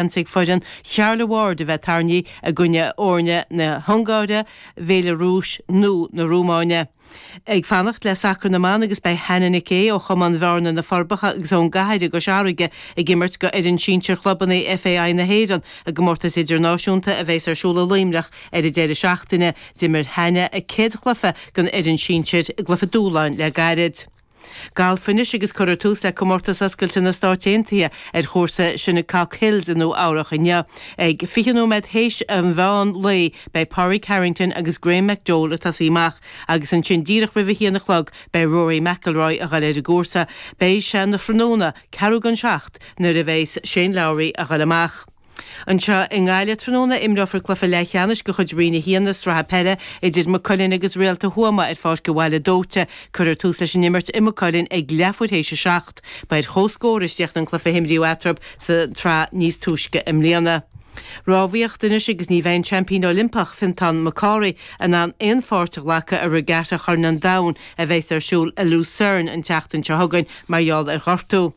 Seans ag foireann Charla Ward a bheith tarraingthe i gcoinne fhoirne na hUngáire, Bhéalarúis nó na Rómáine. Ag fanacht le sacar na mban agus beidh Hannah Nic Aodha ó Chumann Bhearna na Forbacha agus ón gCathair i gCois Fharraige ag imirt go fhoireann sinsir chlubanna FAI na hÉireann i gcomórtas idirnáisiúnta a bheas ar siúl i Luimneach ar an deireadh seachtaine. D'imir Hannah a céad chluiche don fhoireann sinsir i gcluiche dúshláin le gairid. Galf anois agus cuirfear tús le Comórtas Oscailte na Stáit Aontaithe ar chúrsa Shinnecock Hills i Nua Eabhrach inniu. Ag 20 nóiméad théis an mheán lae beidh Pádraig Harrington agus Graeme McDowell ag tosaí amach agus ansin díreach roimh a haon a chlog beidh Rory McIlroy a ghoil ar an gcúrsa. Beidh sé ina thráthnóna, ceathrú don seacht, nuair a bheas Shane Lowry a ghoil amach. Anseo i nGaillimh tráthnóna, imreofar cluiche leathcheannais de chuid Roinn 1 na Sraithe Peile idir Maigh Cuilinn agus Réalta Thuama ar Pháirc an Bhaile Dóite. Cuirfear tús leis an imirt i Maigh Cuilinn ag leathuair théis a 7. Ba ar comhscór a chríochnaigh an cluiche a himríodh eatarthu sa tsraith níos túisce i mbliana. Rámhaíocht anois agus ní bheidh an seaimpín Oilimpeach, Fintán McCaughey, in ann aon pháirt a ghlacadh i Regatta Chorn an Domhain a bheas ar siúl i Lucerne an tseachtain seo chugainn mar gheall ar ghortú.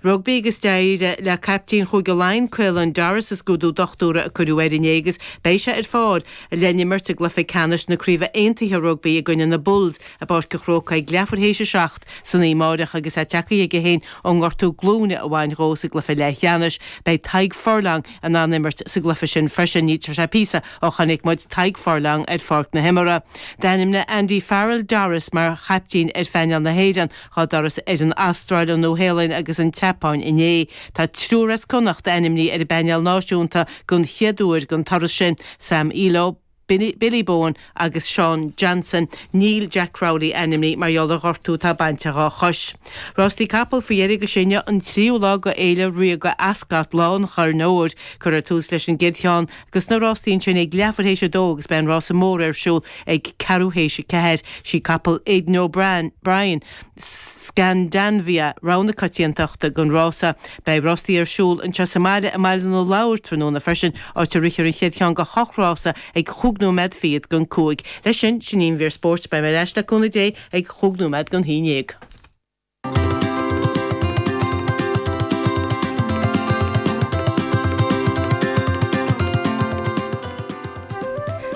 Rugbaí agus d'éirigh le caiptín Chúige Laighean, Caelan Doris, sa scrúdú dochtúra a cuireadh air inné agus beidh sé ar fáil le n-imirt i gcluiche ceannais na Craoibhe Aontaithe Rugbaí i gcoinne na Bulls i bPáirc an Chrócaigh ag leathuair théis a 7 san oíche amáireach agus é tagtha chuige féin ón ngortú glúine a bhain dhó sa gcluiche leathcheannais. Beidh Tadhg Furlong in ann imirt sa gcluiche sin freisin. Níl sé píosa ó chonaic muid Tadhg Furlong ar pháirc na himeartha. D'ainmnigh Andy Farrell Doris mar chaiptín ar phainéal na hÉireann Dá dturas ar an Astráil, an Nua-Shéalainn agus an tSeapáin inné. Tá triúr as Connacht ainmnithe ar an bpainéal náisiúnta den chéad uair don turas sin, Sam Illo, Billy Bowen agus Shaun Johnson. Níl Jack Crowley ainmnithe mar gheall ar ghortú atá bainte dhá chois. Rástaí capall faoi dheireadh agus sé inniu an tríú lá de Fhéile Ríoga Ascot, Lá an Choirn Óir. Cuirfear tús leis an gcéad cheann de na rástaí ansin ag leathuair théis a dó agus beidh an rása mór ar siúl ag ceathrú théis a ceathair. Sí capall Aidan O'Brien, Scandanvia, rogha na coitiantachta don rása. Beidh rástaí ar siúl anseo sa mbaile i mBaile na Lobhar tráthnóna freisin, áit a rithfear an chéad cheann de hocht rása ag chúig nóiméad fichead don cúig. Leis sin, sin í an mhír spóirt. Beidh mé ar ais le cúnamh Dé ag chúig nóiméad don haon dhéag.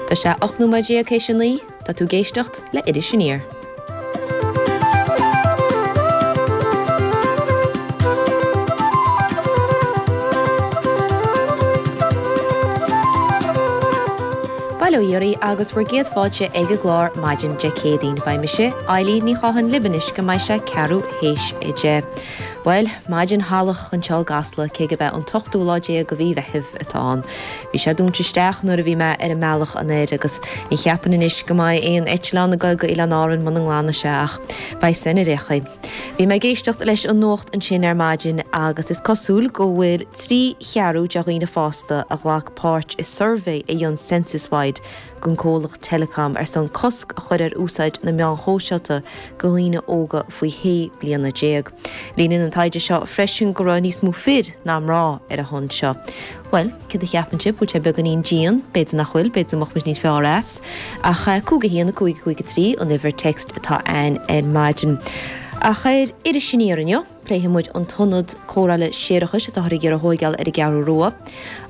Tá sé 18 nóiméad théis a 9, tá tú ag éisteacht le Iris Aniar. Bail ó Dhia oraibh agus bhur gcéad fáilte ag an gclár maidin Dé Céadaoin. Beidh mise, Eilín Ní Chatháin libh anois go mbeidh sé ceathrú théis 10. Bhuel, maidin shalach anseo i gCasla, cé gurb é an t-ochtú lá déag de mhí Mheithimh atá ann. Bhí sé dúnta isteach nuair a bhí mé ar an mbealach anoir agus ní cheapainn anois go mbeidh aon eitleán ag dul go Oileáin Árann muna nglanfaidh sé ach beidh san ar aon chaoi. Bhí mé ag éisteacht leis an nuacht ansin ar maidin agus is cosúil go bhfuil 3 cheathrú de dhaoine fásta a ghlac páirt i suirbhé a dhein Censuswide don comhlacht Telecom ar son cosc a chur ar úsáid na meáin shóisialta do dhaoine óga faoi shé bliana déag. Léiríonn an taighde seo freisin go raibh níos mó fir ná mná ar a shon seo. Bhuel, céard a cheapann sibh? Bhfuil sé beagáinín dian? B'fhéidir nach bhfuil, b'fhéidir go mbeadh muid níos fearr as. Ach 5 1 5 5 3 an uimhir text atá ann ar maidin. Ach ar Iris Aniar inniu, Pléifidh muid an t-ionad cóireála séarachais atáthar ag iarraidh a thóigeáil ar an gCeathrú Rua.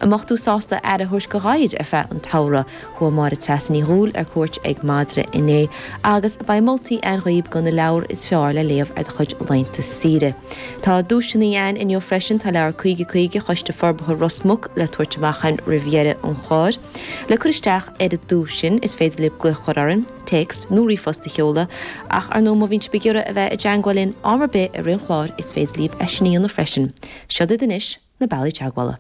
An mbeadh tú sásta aire a thabhairt do ghadhair ar feadh an tsamhraidh? Chuaigh Máire Treasa Ní Dhubhghaill ar cuairt ag madra inné agus beidh moltaí ann dhaoib do na leabhair is fearr le léamh ar do chuid laethanta saoire. Tá duaiseanna ann inniu freisin, tá leabhar 50 50 Choiste Forbartha Ros Muc le tabhairt amach ann roimh dheireadh an chláir. Le cur isteach ar an duais sin is féidir libh glaoch a chur orainn, téacs nó ríomhphost a sheoladh, ach ar ndóigh má bhíonn sibh ag iarraidh a bheith i dteangmháil linn am ar bith i rith an chláir is féidir libh é sin a dhéanamh freisin. Siod iad anois na bealaí teagmhála.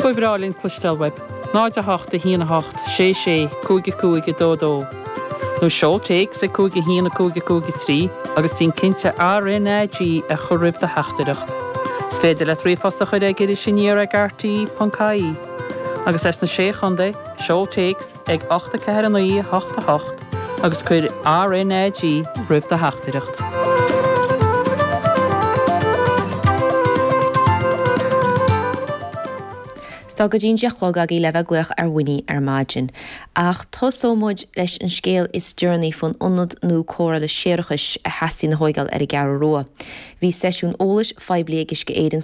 Ba bhreá linn cloisteáil uaibh. 0 8 1 8 6 6 5 5 2 2 Nó seol téacs ag 5 1 5 5 3 agus déan cinnte RNAG a chur roimh do theachtaireacht. Is féidir leat ríomhphost a chur ag irisaniar ag rte.ie. Agus as na Sé Chontae, seol téacs ag 8 4 9 8 8 agus cuir RNAG roimh do theachtaireacht. Tá go dtí'n 10 a chlog agaibh le bheith ag glaoch ar Winnie ar maidin. Ach tosóidh muid leis an scéal is deireanaí faoin ionad nua cóireála séarachais a theastaíonn a thóigeáil ar an gCeathrú Rua. Bhí seisiún eolais phoiblí ag Uisce Éireann.